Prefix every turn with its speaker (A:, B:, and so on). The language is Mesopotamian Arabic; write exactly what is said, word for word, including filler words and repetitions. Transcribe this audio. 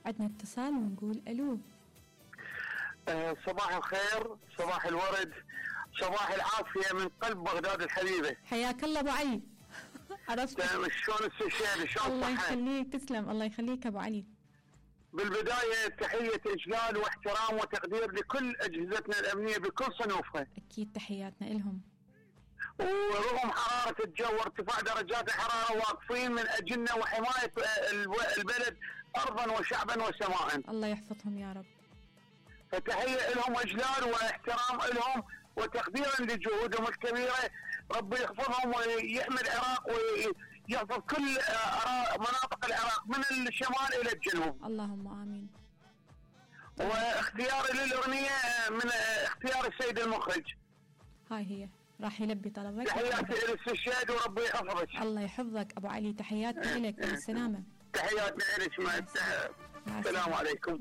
A: عندنا اتصال ونقول الو.
B: أه صباح الخير، صباح الورد، صباح العافية من قلب بغداد الحبيبة.
A: حياك الله ابو علي. عرفت
B: شلون استشهاد؟ شلون
A: الله
B: صحة؟
A: يخليك، تسلم، الله يخليك ابو علي.
B: بالبداية تحية إجلال واحترام وتقدير لكل أجهزتنا الأمنية بكل صنوفها.
A: أكيد تحياتنا إلهم.
B: ورغم حرارة الجو وارتفاع درجات الحرارة واقفين من أجلنا وحماية البلد أرضا وشعبا وسماء.
A: الله يحفظهم يا رب.
B: فتحية لهم إجلال واحترام لهم وتقديرا لجهودهم الكبيرة. ربي يحفظهم ويحمي العراق ويحفظ كل مناطق العراق من الشمال إلى الجنوب.
A: اللهم آمين.
B: واختياري للأغنية من اختيار السيد المخرج.
A: هاي هي راح يلبي طلبك.
B: تحياتي للاستشهاد وربي يحفظك.
A: الله يحفظك أبو علي، تحياتنا لك بالسلامة.
B: تحياتنا لك، مع السلامة عليكم.